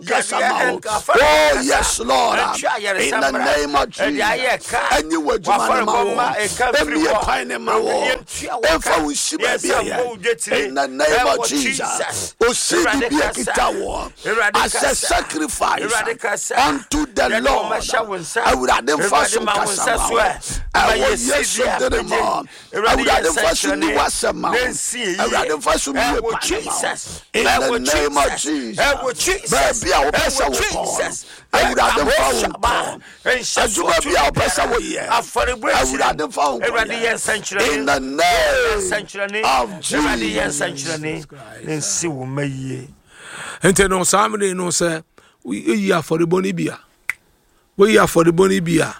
Nkasa ma wo. Oh yes Lord. In the name of Jesus. Ɛnyi wɔ adwuma no ma wo. Ɛmie kwan ne ma wo. Ɛmfa wo nsi baabi a yɛ. In the name of Jesus. Osidi bi ekita wo. As a sacrifice unto the Lord. Awurade nfa so nkasa ma wo. Ɛwɔ Yesu din mu. Awurade nfa so ni w'asɛm ma wo. Awurade nfa so mie kwan ne ma wo. In the name of Jesus. Baabi a wopɛ sɛ wokɔ no, Awurade mfa wo nkɔ. Adwuma bi a wopɛ sɛ woyɛ, Awurade mfa wo nkɔ. In the name of Jesus. Nti no saa mmere no sɛ woyi afɔrebɔ no bi a woyi afɔrebɔ no bi a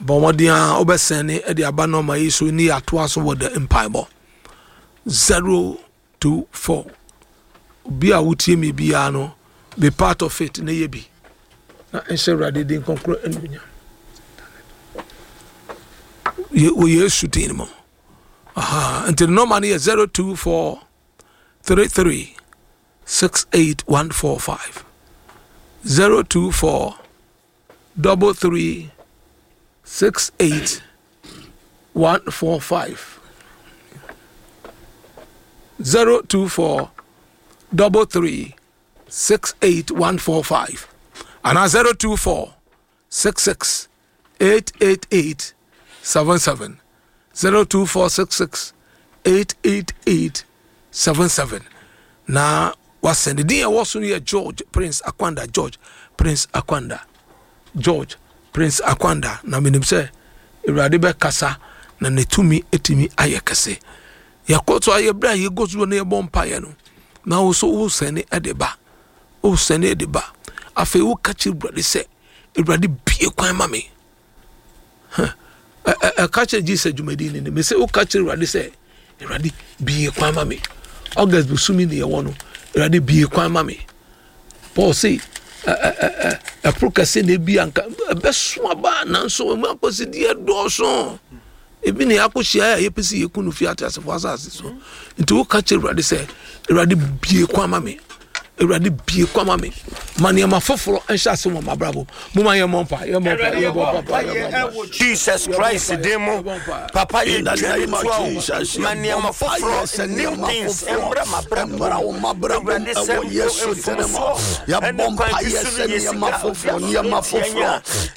bɔ mmɔden a wobɛsɛn ne de aba nɔɔma yi so ne yɛatoa so wɔ the mpaebɔ 024 obi a wotie me biara no be part of it na yɛ bi na nhyɛ awurade din kronkron anuonyam wɔ yesu din mu aha nti nɔɔma no yɛ 024 33 68145 024 33 68 145 024 33 68145 anaa 024 66 888 77 02466 888 77 na wasɛn din ɛwɔ so no yɛ George Prince Akwanda George Prince Akwanda George Prince Akwanda na menim sɛ Awurade bɛkasa na ne tumi atumi ayɛ kɛse yɛkɔ so ayɛ berɛ a yɛkɔ so no yɛbɔ mpaeɛ no na wo so wosɛne de ba wosɛne de ba afei woka kyerɛ Awurade sɛ Awurade bie kwan ma me ɛka kyerɛ Jesus dwumadi ni me sɛ woka kyerɛ Awurade sɛ Awurade bie kwan ma me August bosome ne yɛwɔ no Awurade bie kwan ma me Paul se ɛporo kɛse na ebi anka ɛbɛso aba nanso ɛmu akɔsideɛ dɔɔso ebi na yɛakɔhyia a yɛpɛ sɛ yɛku no fi ateasefoɔ asase so nti woka kyerɛ Awurade sɛ Awurade bie kwan ma me Awurade bie kwan ma me ma nneɛma foforɔ nhyɛ ase wɔ m'abrabɔ mu ma yɛmmɔ mpa yɛmmɔ mpa yɛmmɔ mpa yɛmmɔ mpa Jesus Christ din mu papa yɛ In the name of dwa wo Jesus, ma nneɛma foforɔ new things mmra m'abrabɔ mu Awurade sɛ ɛwɔ Yesu din mu mfomsoɔ yɛbɔ ɛne kwan bi mpaeɛ so sɛ no yɛ nneɛma sika foforɔ nneɛma foforɔ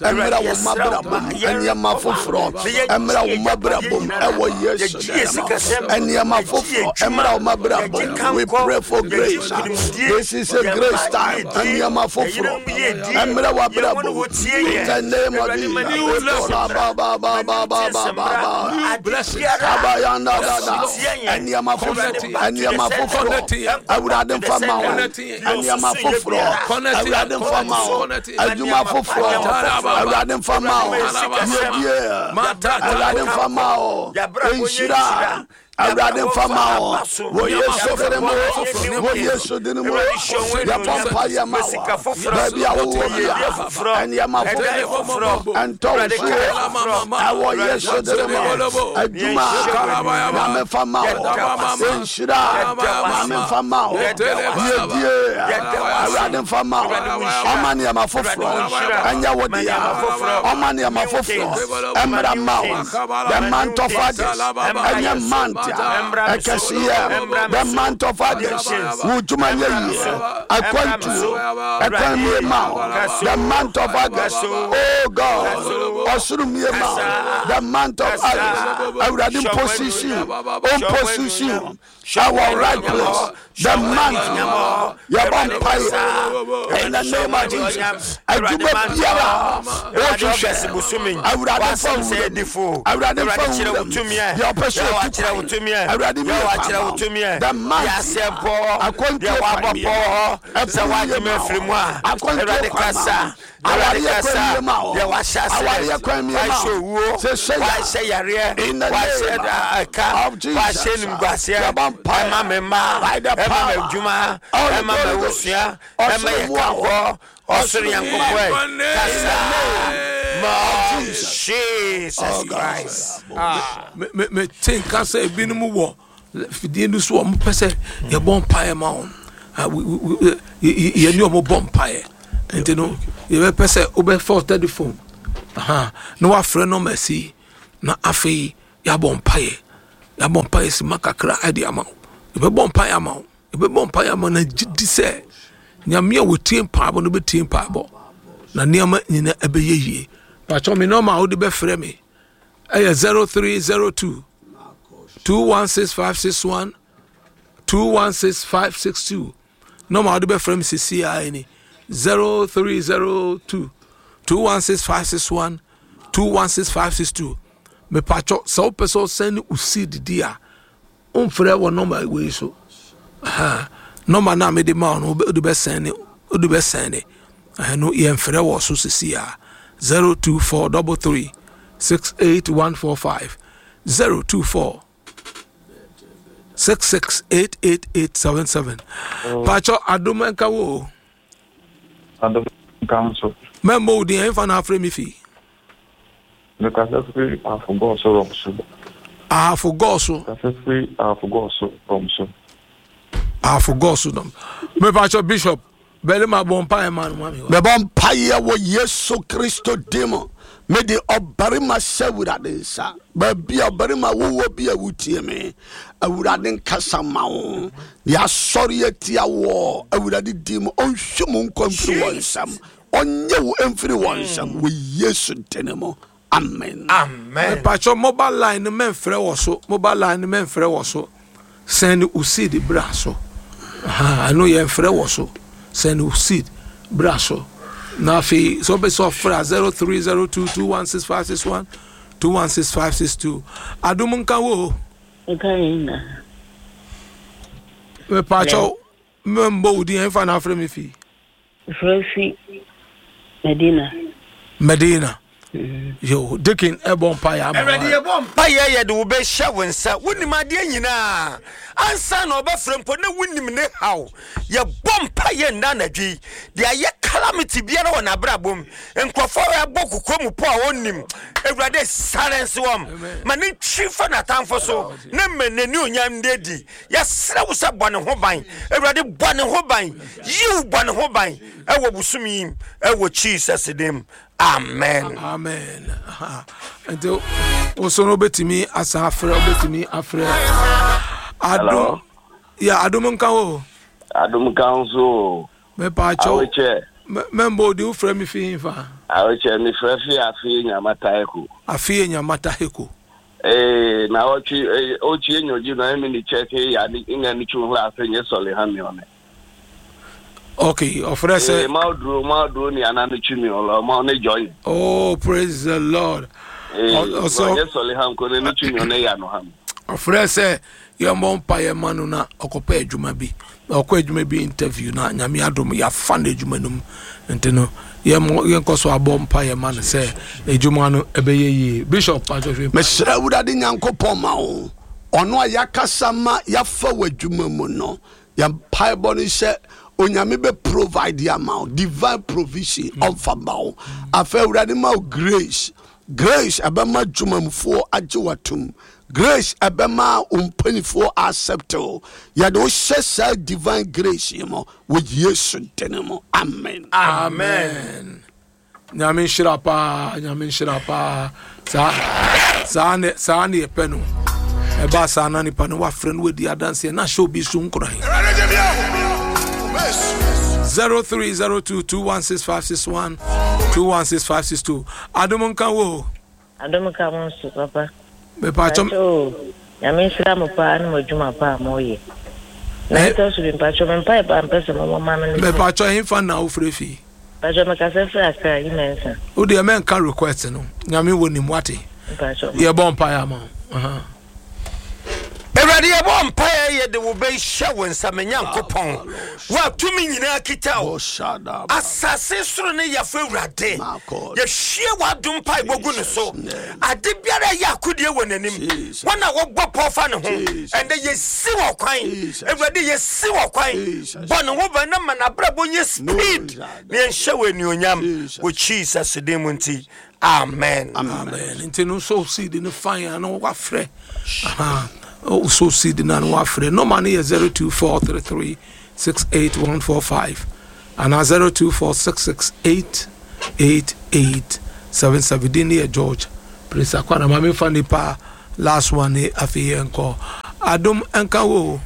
ɛmmra Awurade wo yɛsrɛ wo mabrabɔ ma mu yɛn nneɛma foforɔ na yɛgye ɛmmra wo yɛn mabrabɔ mu agyapadeɛ ɛwɔ nyinaa Yesu yɛgye yɛn din mu sikasɛm nneɛma yɛgye yɛn foforɔ adwuma ɛmmra wo mabrabɔ yɛgye mu we kankɔ pray for yɛgye grace nkonimdie this is a yɛn grace mma time yiedie nneɛma yɛn foforɔ yerenom yiedie ɛmmra yɛn wɔn w'abrabɔ a mu wɔtie in yɛn the name of Awurade ma Jesus new blessings ba mmra ba ba ma ba new ba things ba ba mmra ba New ade blessings. biara Abayanda a dada ɛtia yɛn nneɛma Awurade foforɔ back to the nneɛma sender foforɔ ɛnkɔ back Awurade to the nfa ma wo sender deɛ nneɛma ɔsusu yɛ foforɔ biara Awurade nfa ma wo adwuma foforɔ Awurade nfa ma wo yiedie Awurade nfa ma wo nhyira Awurade nfa ma wo wɔ Yesu din mu wɔ Yesu din mu yɛbɔ mpaeɛ ma wo baabi a wowɔ bia nneɛma foforɔ ɛntɔ wo so ɛwɔ Yesu din mu adwuma Nyame fa ma wo nhyira Nyame nfa ma wo yiedie Awurade nfa ma wo ɔma nneɛma foforɔ ɛnyɛ wo dea ɔma nneɛma foforɔ ɛmmra ma wo the month of August ɛnyɛ month a ɛkɛseyɛ the month of August wo dwuma nyɛ yie akwantuo ɛkwan mie ma wo the month of August oh God ɔsoro mie ma wo the month of August Awurade mposition ɔmposition ɛwɔ right place the month yɛbɔ mpaeɛ in the name of Jesus adwuma biara wohwehwɛ Awurade mfa nwura mu Awurade mfa nwura mu deɛ ɔpɛ sɛ ɔtu kwan Awurade mi yɛ kwan ma wo the month akwantuo kwan mi ɛpono yɛ ma wo akwantuo kwan ma wo awareɛ kwan mi ma wo awareɛ kwan mi ma wo sɛ sɛ yareɛ in the wahyɛ name ɛka of Jesus wahyɛ nimguaseɛ yɛbɔ mpaeɛ ɛma me mma by the ɛma power m'adwuma of the ɛma Holy Ghost m'abusua ɛma ɔsoro yɛ mmoa wo kankɔ ɔsoro ɔsoro Nyankopɔn mmoa ɛ kasa ma of Jesus Jesus oh God Christ. mete nka sɛ ebinom wɔ fidie no so a wɔpɛ sɛ yɛbɔ mpaeɛ ma wɔn Ah, yɛne wɔn bɔ mpaeɛ. Nti no yɛbɛpɛ sɛ wobɛfa wo telephone na wafrɛ nɔma si na afei yɛabɔ mpaeɛ yɛabɔ mpaeɛ sima kakra de ama wo yɛbɛbɔ mpaeɛ ama wo yɛbɛbɔ mpaeɛ ama na gye di sɛ nyame a wɔtie mpaebɔ no bɛtie mpaebɔ na nneɛma nyina ɛbɛyɛ yie pakyɛ me nɔma a wode bɛfrɛ me ɛyɛ 0302 216561 216562 nɔma a wode bɛfrɛ me sisi a ni 0302 216561 216562 mepatwɔ sɛ wopɛ sɛ ɔsɛn ne wo seed di a womfrɛ wɔ nɔma wei so nɔma no a mede ma wo no wode bɛsɛn ne wode bɛsɛn ne ɛno yɛmfrɛ wɔ so sisi a 024 33 68145 024 668877 pakyɛ adom nka wo o Adom nka nso. Mɛmmɔ wo din ɛmfa na afrɛ me fi. Mekasa firi Ahafo so rɔm so. Ahafo gɔɔ so. Kasa firi Ahafo gɔɔ so rɔm so. Ahafo gɔɔ so dɔm. Mepakyɛ Bishop Barima bɔ mpaeɛ ma no ma me. Mebɔ mpaeɛ wɔ Yesu Kristo din mu. Mede ɔbarima hyɛ Awurade nsa. Baabi a ɔbarima wowɔ bi a wotie me, Awurade nkasa ma wo. Deɛ asɔre atia wɔ Awurade din mu, ɔnhwe mu nkwa mfiri wɔn nsam. Ɔnyɛ wo mfiri wɔn nsam wɔ Yesu din mu. Amen. Amen. Mepakyɛ mobile line no mɛmfrɛ wɔ so mobile line no mɛmfrɛ wɔ so send wo seed bra so ɛno yɛmfrɛ wɔ so send wo seed bra so na afei sɛ wopɛ sɛ ɔfrɛ a 0302216561 216562 adom nka wo nka yɛn na mepakyɛ mɛmbɔ wo din ɛmfa na afrɛ me fii Frɛ fi Medina. Medina. Yo, Deacon ɛbɔ mpaeɛ ama. Awurade yɛbɔ mpaeɛ yɛde wo bɛhyɛ wo nsa. Wonim adeɛ nyinaa. Ansa na ɔbɛfrɛ mpo na wonim ne haw. Yɛbɔ mpaeɛ nna anadwo yi. Deɛ ayɛ calamity biara wɔ n'abrabɔ mu. Nkurɔfoɔ a ɛbɔ kokoa mu po a ɔnnim. Awurade silence wɔn. Ma ne ntwi fa n'atamfo so na ma n'ani onyam nda adi. Yɛsrɛ wo sɛ bɔ ne ho ban. Awurade bɔ ne ho ban. Yiw bɔ ne ho ban ɛwɔ bosom yi mu ɛwɔ Jesus din mu. Amen. Amen. Nti woso no wobɛtumi asan afrɛ wobɛtumi afrɛ adom yɛ adom nka wo. Adom nka wo so. Mepaakyɛw. Mɛmbɔ odi wofrɛ me fi hefa? Awekyɛ mefrɛ fi afei nyamata heko. Afei nyamata heko. Ee, na ɔtwe ɔtwe nyɔgye na ɛmi ne kyɛ ke ya ne nya ne twu hla ase nye sɔle ha mi ɔne. Okay, ɔfrɛ sɛ. Ee, ma oduro ma oduro ni ana ne twi mi ɔlɔ ma ɔne join. Oh, praise the Lord. Ee, ɔsɛ ɔnyɛ sɔle ha nko ne ne twi mi ɔne ya no ha mi. Ɔfrɛ sɛ yɛmmɔ mpa yɛ ma no na ɔkɔpɛ adwuma bi na ɔkɔ adwuma bi interview na nyame adom yɛafa no adwuma no mu nti no yɛnkɔ so abɔ mpa yɛ ma no sɛ adwuma no ɛbɛyɛ yie bishop patwɔhwɛ mesrɛ awurade nyankopɔn ma wo ɔno a yɛakasa ma yɛafa w'adwuma mu no Yɛn mpaebɔ ne sɛ Onyame bɛ provide ama wo divine provision ɔmfa ma wo. Afei Awurade ma wo grace. Grace ɛbɛma dwumamufoɔ agye watom. Grace ɛbɛma wo mpanimfoɔ accept wo. Yɛde wo hyɛ saa divine grace yi mu wɔ Yesu din mu. Amen. Amen. Nyame nhyira paa, nyame nhyira paa. Saa saa ne saa ne yɛpɛ no. Ɛba saa na nipa no wafrɛ no wadi adanseɛ na ahyɛ obi so nkuran. 0302216561 216562 Adom nka wo. Adom nka mo nso papa. Mepatwɔ. Nyame nhyira mo paa ne mo adwuma pa a moyɛ. Na ɛtɔ so bi mpatwɔ me mpae paa mpɛ sɛ mobɔ ma me ne sɛ. Mepatwɔ hefa na wofrɛ fi? Mpatwɔ mekasa firi Accra yi Mensah. Wo deɛ mɛnka request no Nyame wɔ nim wate. Mpatwɔ. Yɛbɔ mpaeɛ ama wo. Awurade yɛbɔ mpaeɛ yɛde wo bɛhyɛ wo nsa me Nyankopɔn wo a tumi nyinaa kita wo asase soro ne yafo Awurade yɛhwie w'adom mpaebɔ gu ne so ade biara ɛyɛ akodie wɔ n'anim wɔn a wɔbɔ pɔw fa ne ho ɛndɛ yɛsi wɔ kwan Awurade yɛsi wɔ kwan bɔ ne ho ban na ma n'abrabɔ nyɛ speed na yɛnhyɛ wɔ anuonyam wɔ Jesus din mu nti Amen. Amen. Nti no sow seed no fine ano wafrɛ. Aha. Oh, sow seed no ano wafrɛ. Nɔma no yɛ 0243368145. Anaa 0246688877 din no yɛ George Prince Akwana ma memfa nipa last one ne afei yɛnkɔ adom nka wo o.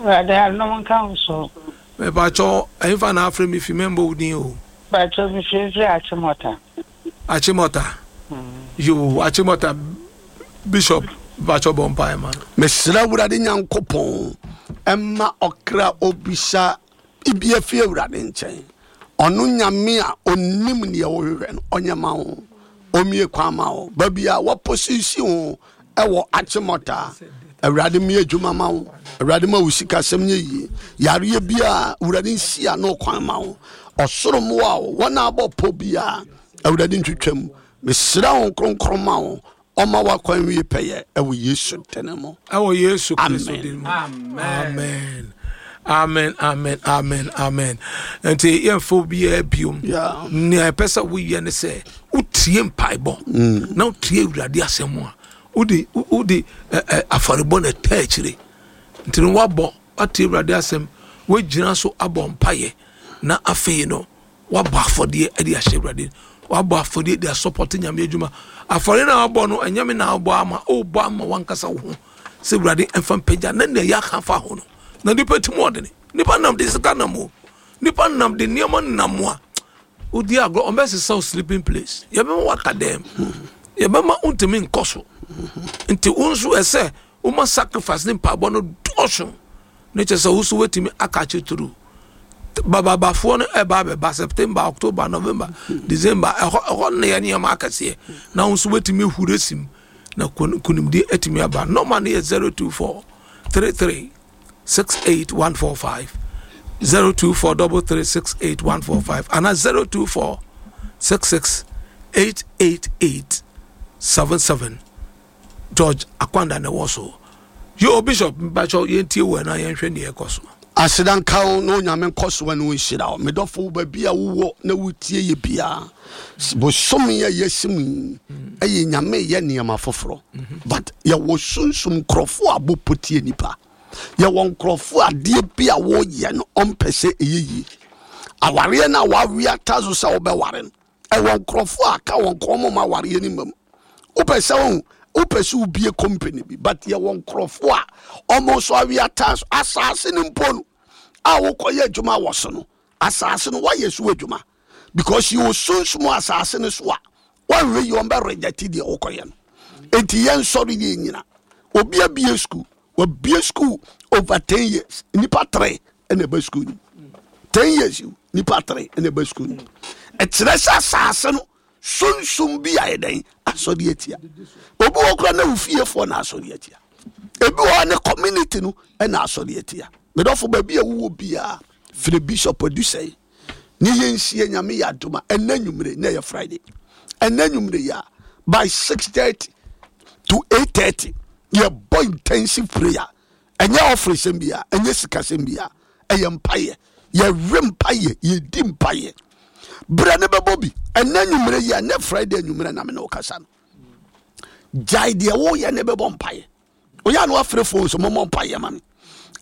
Awurade adom nka wo so. Mepakyɛw ɛhefa na afrɛ me fi mɛmbɔ wo din o. Pakyɛw mefiri firi Achimota. Achimota yoo Achimota Bishop mepakyɛw bɔ mpaeɛ ma no. Mesrɛ Awurade Nyankopɔn mma ɔkra obisa Biribi afi Awurade nkyɛn. Ɔno Nyame a ɔnim neɛ wohwehwɛ no, ɔnyɛ ma wo. Ɔmmie kwan ma wo. Baabi a wɔposisi wo ɛwɔ Achimota, Awurade mmie adwuma ma wo. Awurade ma wo sikasɛm nyɛ yie. Yareɛ biara, Awurade nsi ano kwan ma wo. Ɔsoro mmoa wo. Wɔn a abɔ pɔ biara, Awurade ntwitwa mu. Mesrɛ wo kronkron ma wo. Ɔma w'akwan wie pɛyɛ ɛwɔ Yesu dene mu. Ɛwɔ Yesu Kristo din mu. Amen. Amen, amen, amen, amen. Nti yɛmfa obiara biom. Nea ɛpɛ sɛ woyɛ ne sɛ wotie mpaebɔ mm. na wotie Awurade asɛm a wode wode afɔrebɔ na ɛta akyire. Nti no woabɔ woatie Awurade asɛm woagyina so abɔ mpaeɛ na afei no Wabɔ afɔdeɛ de ahyɛ Awurade. Wabɔ afɔdeɛ de asɔpɔte Nyame adwuma. Afɔdeɛ na wabɔ no, ɛnyɛ me na wabɔ ama, wobɔ ama wankasa wo ho. Sɛ Awurade ɛmfa mpagya na nea yɛaka afa ho no. Na nipa ti mu ɔdene. Nipa nam de sika nam o. Nipa nam de nneɛma nam a. Wodi agorɔ, ɔmbɛsesa wo sleeping place. Yɛbɛma waka dɛm. Yɛbɛma wontumi nkɔ so. Nti wo nso ɛsɛ woma sacrifice ne mpaebɔ no dɔɔso. Ne kyerɛ sɛ wo nso woatumi akakye through. Bababafoɔ no ɛba abɛba September, October, November, December ɛhɔ ɛhɔ na yɛ nneɛma akɛseɛ na wo nso woatumi ahuri asim na nkonimdie atumi aba. Nɔma no yɛ 024 33 68 145 024 33 68 145 anaa 024 66 888 77. George Akwanda na ɛwɔ so. Yo Bishop mpakyɛw yɛntie wo na yɛnhwɛ nea ɛkɔ so. Aseda nka wo na Onyame nkɔ so ne wo nhyira wo. Me dɔfo baabi a wowɔ na wotie yɛ biara. Bosome a yɛasi mu yi ɛyɛ Nyame yɛ nneɛma foforɔ. But yɛwɔ sunsum nkurɔfoɔ a bɔpɔ tie nipa. Yɛwɔ nkurɔfoɔ adeɛ bi a wɔyɛ no ɔmpɛ sɛ ɛyɛ yie. Awareɛ no a wawe ata so sɛ wobɛware no ɛwɔ nkurɔfoɔ a aka wɔn kɔn mo ma awareɛ no mmam wopɛ sɛ wo wopɛ sɛ wobie company bi but yɛwɔ nkurɔfoɔ a ɔmo nso awe ataa so asaase no mpo no a wokɔyɛ adwuma wɔ so no asaase no woayɛ so adwuma because yɛwɔ sunsum asaase no so a wɔnhwɛ yi wɔn bɛ reject deɛ wokɔyɛ no enti yɛnsɔre yɛ nyina obi abie school wabie school over ten years nipa tere ɛna ɛba school no ten years nipa tere ɛna ɛba school no ɛkyerɛ sɛ asaase no sunsum bi ayɛ dɛn asɔre atia obi wɔ kora na ofiefoɔ na asɔre atia ebi wɔ ne community no ɛna asɔre atia medɔfo baabi a wowɔ biara firi bishop adusɛe ne yɛnhyia nyame yɛ adom a ɛnɛ nwummere na ɛyɛ friday ɛnɛ nwummere yɛ a by 6:30 to 8:30 yɛbɔ intensive prayer ɛnyɛ ɔfresɛm bia ɛnyɛ sikasɛm bia ɛyɛ mpayɛ yɛwe mpayɛ yɛdi mpayɛ berɛ ne bɛbɔ bi ɛnɛ nwummere yi ɛnɛ friday nwummere na me ne wo kasa no gyae deɛ woyɛ ne bɛbɔ mpayɛ oyɛ a na wafrɛ phone so mommɔ mpaeɛ ma me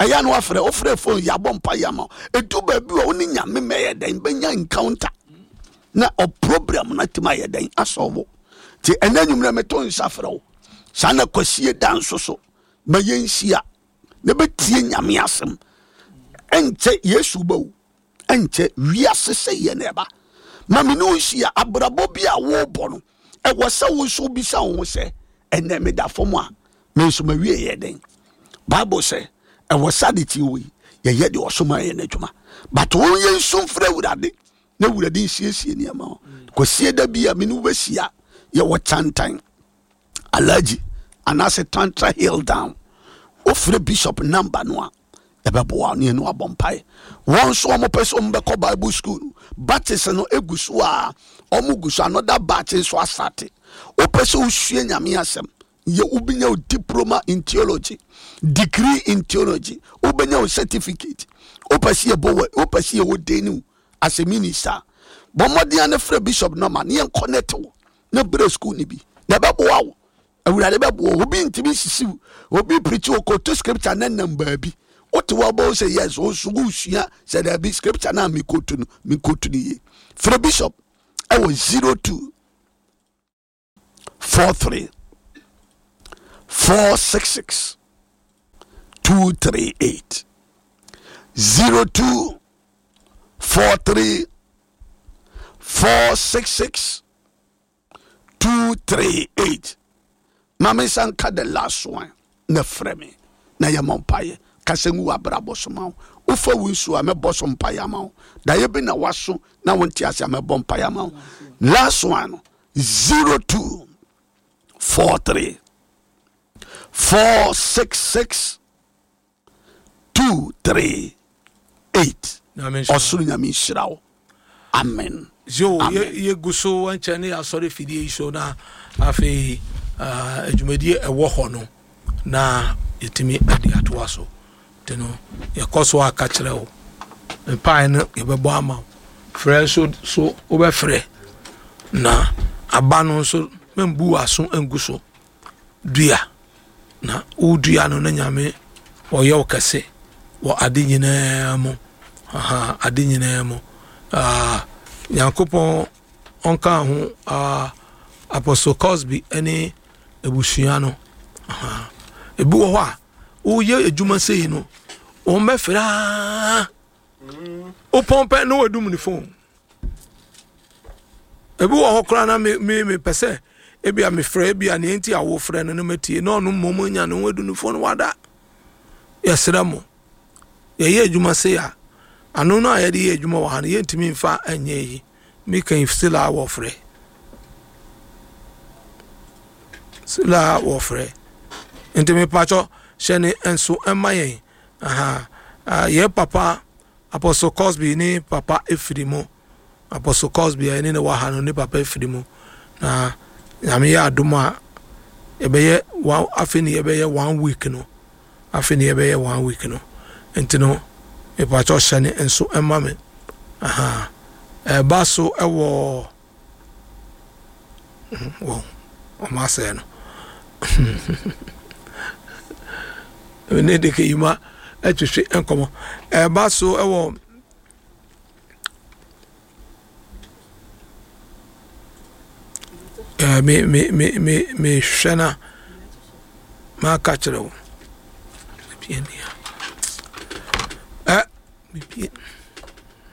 ɛyɛ a na wafrɛ wofrɛ phone yɛabɔ mpaeɛ ama ɛdu baabi a wo ne nyame mɛyɛ dɛn bɛnya encounter na ɔprogram no atumi ayɛ dɛn asɔwo nti ɛnɛ nwummerɛ meto nsa frɛ wo saa na kwasie da nso so ma yɛnhyia na bɛtie nyame asɛm ɛnkyɛ yesu bɛwu ɛnkyɛ wiase sɛ yɛ na ɛba ma me ne wo nhyia abrabɔ bi a wobɔ no ɛwɔ sɛ wo nso wobisa wo ho sɛ ɛnɛ meda fam a me nso mawie yɛ dɛn bible sɛ ɛwɔ sɛ ade tie wɔ yi yɛyɛ deɛ ɔsoma yɛ no adwuma but wo yɛ nsu mfrɛ awurade na awurade nsiesie nneɛma ho kwasie da bi a me ne wobɛhyia yɛwɔ kyantan alaji anaasɛ tantra hill down wofrɛ bishop number no a ɛbɛboa ne ɛne wabɔ mpae wɔn nso wɔn pɛ sɛ wɔn bɛkɔ bible school no batches no egu so a wɔn gu so another batch nso asate wopɛ sɛ wosua nyame asɛm yɛ wobɛnya wo diploma in theology degree in theology wobɛnya wo certificate wopɛ sɛ yɛbɔ wɔ wopɛ sɛ yɛwɔ den wo as a minister bɔ mmɔden a ne frɛ bishop nɔma ne yɛn connect wo na brɛ school no bi na ɛbɛboa wo awurade bɛboa obi ntumi nsisi wo obi pirikyi okoto scripture ne nam baabi. Wote hɔ bɔ sɛ yes, wo nso wosua sɛ daabi scripture no a mekotu no mekotu no yie. Frɛ bishop ɛwɔ 02 43 466 238 02 43 466 238 ma me nsa nka the last one na frɛ me na yɛmmɔ mpaeɛ kasa ngu w'abrabɔ so ma wo wofa wo nsuo a mɛbɔ so mpaeɛ ama wo daeɛ bi na waso na wonte ase a mɛbɔ mpaeɛ ama wo last one no 02 43 466 2 3 8 ɔsoro nyame nhyira wo amen yo yɛgu so nkyɛn ne yɛasɔre fidie yi so na afei adwumadie ɛwɔ hɔ no na yɛtumi ade atoa so nti no yɛkɔ so aka kyerɛ wo mpae no yɛbɛbɔ ama wo frɛ nso so wobɛfrɛ na aba no nso membu w'aso ngu so dua na wodua no na nyame ɔyɛ wo kɛse wɔ ade nyinaa mu aha ade nyinaa mu ah, nyankopɔn ɔnka ho ah, apostle cosby ne abusua no aha ebi wɔ hɔ a woyɛ adwuma sei no wɔn bɛfrɛ aa wopɔn pɛ na wɔadum ne phone Ebi wɔ hɔ koraa na me me mepɛ sɛ ebi a mefrɛ ebi a nea nti a wofrɛ no no matie na ɔno mmom anya ne ho adu ne fon wada. Yɛsrɛ mo, yɛyɛ adwuma sei a, ano no a yɛde yɛ adwuma wɔ ha no yɛntumi mfa nyɛ yi. Meka yi still a wɔfrɛ. Still a wɔfrɛ. Nti mepakyɛ hyɛ ne nso ɛma yɛn. Aha. Yɛ papa Apostle Cosby ne papa efiri mu. Apostle Cosby a yɛne no wɔ ha no ne papa efiri mu. Na Nyame yɛ adom a yɛbɛyɛ one afei ne yɛbɛyɛ one week no. Afei ne yɛbɛyɛ one week no. Nti no mepakyɛ hyɛ ne nso ɛma me. Aha. Ɛba so ɛwɔ wɔn wɔn asɛe no ne de keyima atwitwi nkɔmɔ ɛba so ɛwɔ ɛɛ me me me me mehwɛ na maka kyerɛ wo ɛ.